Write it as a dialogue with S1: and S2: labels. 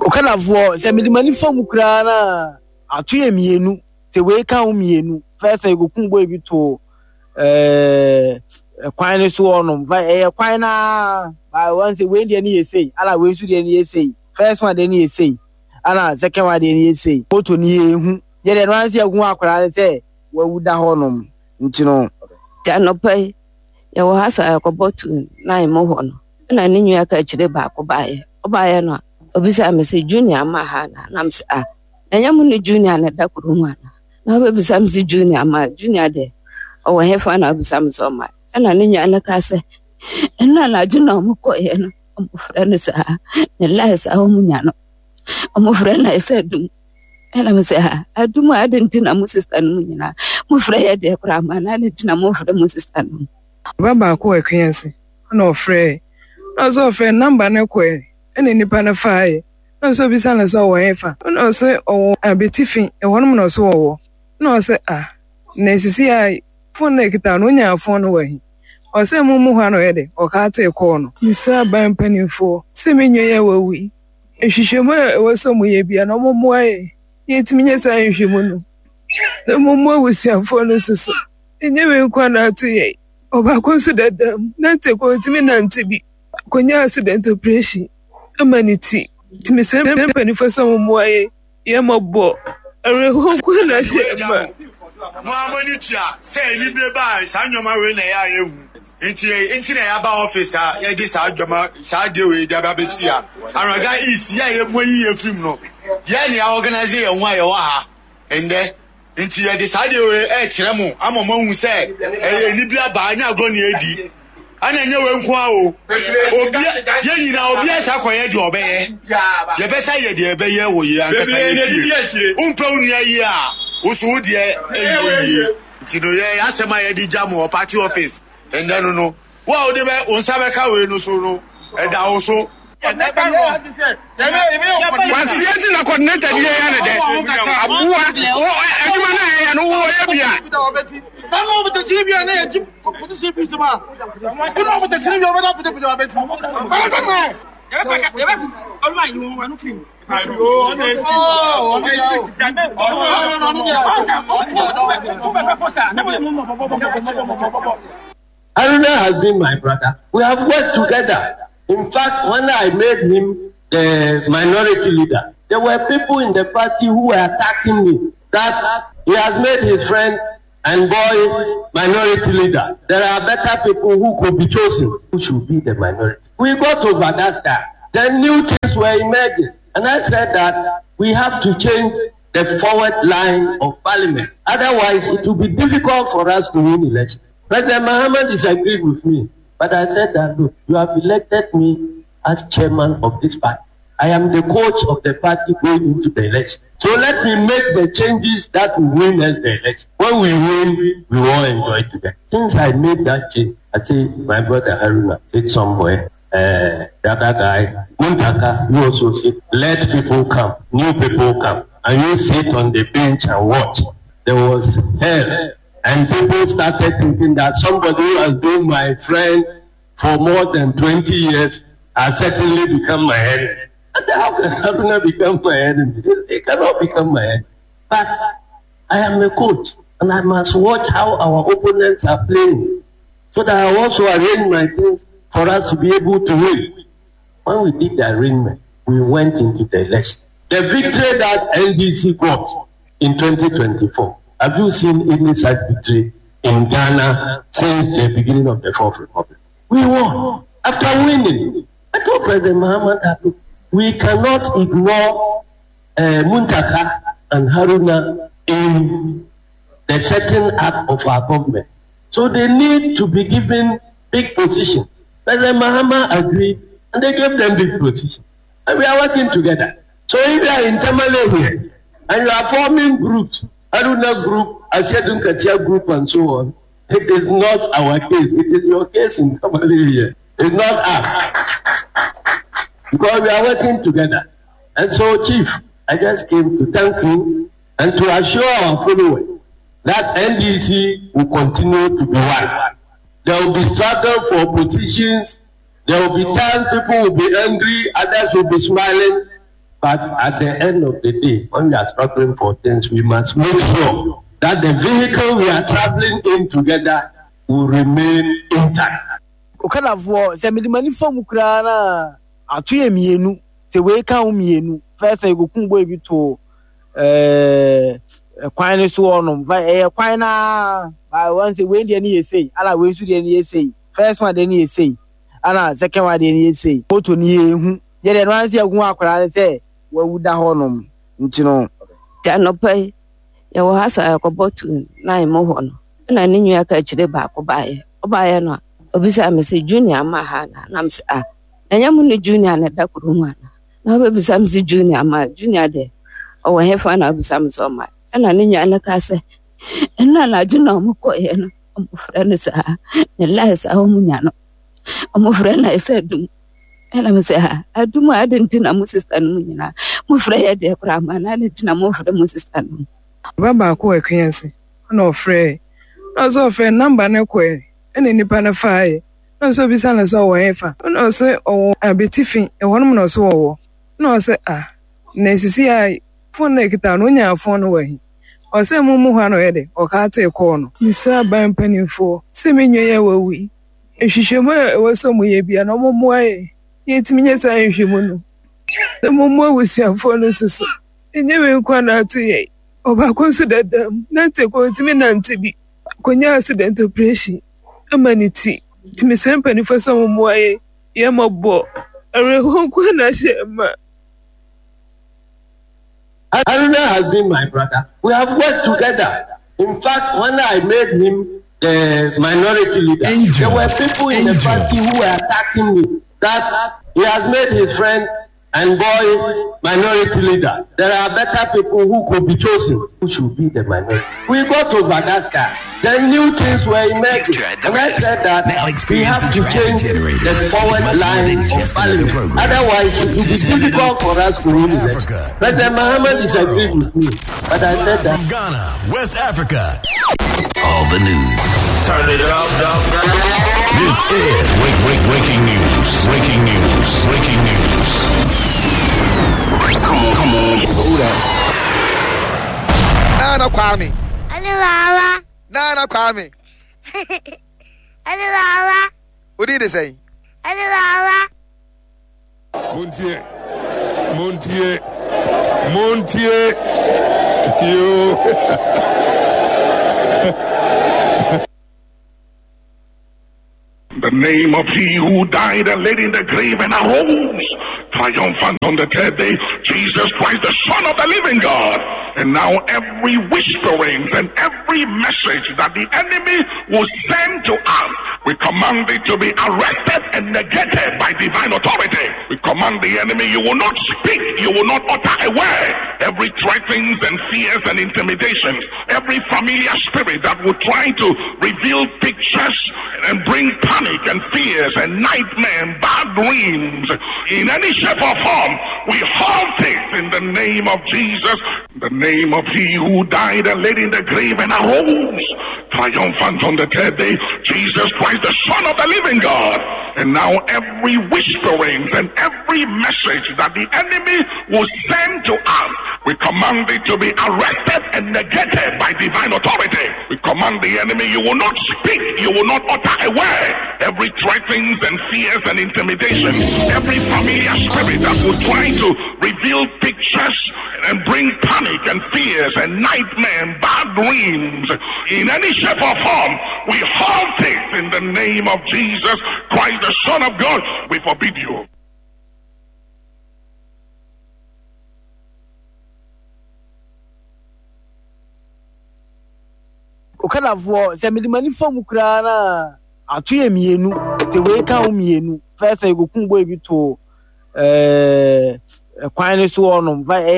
S1: Okadafoɔ, sɛ mede m'ani fa mu koraa no a, ato yɛ mmienu. Sɛ wei ka ho mmienu. First one, yɛkɔkum boy bi too ɛɛ kwan no so hɔnom. Fa ɛyɛ kwan no ara. Ba wɔn sɛ wei deɛ no yɛ sei, ɛna wei nso deɛ no yɛ sei. First one deɛ no yɛ sei, ɛna second one deɛ no yɛ sei. Moto no yɛnhu. Yɛ deɛ no ara sɛ yɛhu akwadaa no sɛ wawu da hɔnom nti no.
S2: Nti anɔpa yi, yɛwɔ ha saa yɛkɔbɔ tu nan mu hɔ no, ɛna ne nua ka akyire baako baeɛ. Ɔbaeɛ no a, ɔbisaa me sɛ Junior ma ha anaa? Na me sɛ ah, na ɛnyɛ mo ne Junior na ɛda kuro mu anaa? Na ɔbɛbisa me sɛ Junior ma Junior deɛ ɔwɔ hefa na ɔbisa me sɛ ɔma. Ɛna ne nua no kaa sɛ ɛno anadwo na ɔmo kɔeɛ no, ɔmo frɛ no saa, ne line saa ɔmo nya no. Ɔmo frɛ no sɛ adum. Ɛna me sɛ ha adum a adɛn nti na mo sista no mu nyinaa mofrɛ yɛ deɛ koraa ma na adɛn nti na momfrɛ mo sista no mu.
S3: Ba baako wɔ Akuase ɛna ɔfrɛɛ na ɔsɛ ɔfrɛ namba no kɔɛ ɛna nipa no faeɛ na ɔsɛ obisa no sɛ ɔwɔ hefa ɛna ɔsɛ ɔwɔ Abetifi ɛhɔnom na ɔsɛ ɔwɔ ɛna ɔsɛ ah na esisi a fon na ekita no onyaa fon no wɔ he ɔsɛ mo mu hɔ a na ɔyɛ de ɔkaatee kɔɔ no. Mesrɛ aban mpanimfoɔ sɛ me nua yi a wawu yi Nhwehwɛmu a ɛwɔ sɛ wɔyɛ biara no, wɔmmoa yɛn na yɛntumi nyɛ saa nhwehwɛmu no, na wɔmmoa abusuafoɔ no nso so. Ɛnyɛ wei nko ara na ato yɛn. Ɔbaako nso dada mu, nante kɔ ɔntumi nante bi. Ɔkɔnya accident operation ama ne ti. Nti mesrɛ mpanimfoɔ sɛ wɔmmoa yɛn. Yɛ mmɔbɔ. Awerɛhoɔ nko ara na ahyɛ yɛn ma.
S4: Mo ara mo ani tua sɛ anibere ba a saa nneɛma wei na ɛyɛ a yɛhu. Nti nti na yɛaba office a yɛde saa dwama saa adeɛ wei de aba abɛsi ha. Anwraga East yɛ a yɛmu ayi yɛn firim no, yɛn na yɛaorganise yɛn ho a yɛwɔ ha ndɛ. Nti yɛde saa adeɛ wei ɛrekyerɛ mo ama moahu sɛ ɛyɛ anibere aba, ɛnyɛ agorɔ na yɛredi. Ɛna ɛnyɛ wei nko ara o, obia yɛn nyinaa obia sa kɔyɛ deɛ ɔbɛyɛ. Yɛbɛsa yɛ deɛ ɛbɛyɛ wɔ yɛn ankasa yɛ fie. Wompɛ wo nua yie a, wo so wo deɛ ɛnyɛ yie. Nti no yɛ asɛm a yɛde gya mo wɔ party office ndɛ no no, wo a wode bɛ wo nsa bɛka wei no so no, ɛda wo so.
S5: Kwasia ti na coordinator ni yɛ ne dɛ aboa wo adwuma na yɛ no wo yɛ bia.
S6: Aruna has been my brother. We have worked together. In fact, when I made him the minority leader, there were people in the party who were attacking me that he has made his friend and boy minority leader. There are better people who could be chosen who should be the minority. We got over that time. Then new things were emerging. And I said that we have to change the forward line of parliament. Otherwise, it will be difficult for us to win elections. President Mahama disagreed with me, but I said that, look, you have elected me as chairman of this party. I am the coach of the party going into the election. So let me make the changes that will win us the election. When we win, we all enjoy together. Since I made that change, I say, my brother Haruna, sit somewhere. Uh, the other guy, Muntaka, you also sit. Let people come, new people come. And you sit on the bench and watch. There was hell. And people started thinking that somebody who has been my friend for more than 20 years has certainly become my enemy. I said, how can Haruna become my enemy? He cannot become my enemy. But I am a coach and I must watch how our opponents are playing so that I also arrange my things for us to be able to win. When we did the arrangement, we went into the election. The victory that NDC got in 2024, have you seen any such victory in Ghana since the beginning of the Fourth Republic? We won. After winning, I told President Muhammad that we cannot ignore uh, Muntaka and Haruna in the setting up of our government. So they need to be given big positions. President Mahama agreed and they gave them big positions. And we are working together. So if you are in Tamale here and you are forming groups, Aruna group, Asiadun Katia group, and so on, it is not our case. It is your case in Tamale here. It's not us. Because we are working together. And so, Chief, I just came to thank you and to assure our followers that NDC will continue to be one. There will be struggle for positions. There will be times people will be angry, others will be smiling. But at the end of the day, when we are struggling for things, we must make sure that the vehicle we are traveling in together will remain intact.
S1: Okadafoɔ, sɛ mede m'ani fa mu koraa no a, ato yɛ mmienu. Sɛ wei ka ho mmienu. First one, yɛkɔkum boy bi too ɛɛ kwan no so hɔnom. Ɛyɛ kwan no ara. Wɔn sɛ wei deɛ no yɛ sei, ɛna wei nso deɛ no yɛ sei. First one deɛ no yɛ sei, ɛna second one deɛ no yɛ sei. Moto no yɛnhu. Yɛ deɛ no ara sɛ yɛhu akwadaa no sɛ wawu da hɔnom nti no.
S2: Nti anɔpa yi, yɛwɔ ha saa yɛkɔbɔ tu nan mu hɔ no, ɛna ne nua ka akyire baako baeɛ. Ɔbaeɛ no a, ɔbisaa me sɛ Junior ma ha anaa? Na me sɛ ah, na ɛnyɛ mo ne Junior na ɛda kuro mu anaa? Na ɔbɛbisa me sɛ Junior ma Junior deɛ ɔwɔ hefa na ɔbisa me sɛ ɔma. Ɛna ne nua no kaa sɛ ɛno anadwo na ɔmo kɔeɛ no, ɔmo frɛ no saa, ne line saa ɔmo nya no, ɔmo frɛ no sɛ dum. Ɛna me sɛ ha adum a adi nti na mo sista no mu nyinaa mofrɛ yɛ deɛ koraa ma na adi nti na mofrɛ mo sista no mu.
S3: Ba baako wɔ Akuase ɛna ɔfrɛɛ na ɔsɛ ɔfrɛ namba no kɔɛ ɛna nipa no faeɛ na ɔsɛ obisa no sɛ ɔwɔ hefa ɛna ɔsɛ ɔwɔ Abetifi ɛhɔnom na ɔsɛ ɔwɔ ɛna ɔsɛ ah na esisi a fon na ekita no onyaa fon no wɔ he ɔsɛ mo mu hɔ a na ɔyɛ dɛ ɔkaa tee kɔɔ no. Mesrɛ aban mpanimfoɔ sɛ me nua yi a wawu yi Nhwehwɛmu a ɛwɔ sɛ wɔyɛ biara no, wɔmmoa yɛn na yɛntumi nyɛ saa nhwehwɛmu no, na mommoa abusuafoɔ no nso so. Ɛnyɛ wei nko ara na ato yɛn. Ɔbaako nso dada mu, nante kɔ, ɔntumi nante bi. Ɔkɔnya accident operation ama ne ti. Nti mesrɛ mpanimfoɔ sɛ wɔmmoa yɛn. Yɛn mmɔbɔ. Awerɛhoɔ nko ara na ahyɛ yɛn ma.
S6: Haruna has been my brother. We have worked together. In fact, when I made him the minority leader, Angel. there were people in Angel. the party who were attacking me that he has made his friend and boy minority leader. There are better people who could be chosen who should be the minority. We got to Madagascar. Then new things were emerging. And I said that we have to change the forward line of parliament. Otherwise, it will be difficult for us to win election. President Mahama disagreed with me. But I said that.
S7: From Ghana, West Africa.
S8: All the news.
S9: Turn it up.
S8: This is
S7: break, break, breaking news. Breaking news. Breaking news.
S8: Come on, come on.
S10: Who that? Nana Kwame.
S11: Nana.
S10: Nana Kwame.
S11: Nana.
S10: Who did they say?
S11: Nana.
S12: Montie, montie, montie, you.
S13: The name of he who died and laid in the grave and arose triumphant on the third day, Jesus Christ, the Son of the living God. And now every whispering and every message that the enemy will send to us, we command it to be arrested and negated by divine authority. We command the enemy, you will not speak, you will not utter a word. Every threatenings and fears and intimidations, every familiar spirit that will try to reveal pictures and bring panic and fears and nightmare and bad dreams in any shape or form, we halt it in the name of Jesus, the name of he who died and laid in the grave and arose triumphant on the third day, Jesus Christ, the Son of the living God. And now every whispering and every message that the enemy will send to us, we command it to be arrested and negated by divine authority. We command the enemy, you will not speak, you will not utter a word. Every threatenings and fears and intimidations, every familiar spirit that will try to reveal pictures and bring panic and fears and nightmare and bad dreams in any shape or form, we halt it in the name of Jesus Christ, the Son of God. We forbid you.
S1: Okadafoɔ, sɛ mede m'ani fa mu koraa no a, ato yɛ mmienu. Sɛ wei ka ho mmienu. First one, yɛkɔkum boy bi too ɛɛ kwan no so hɔnom.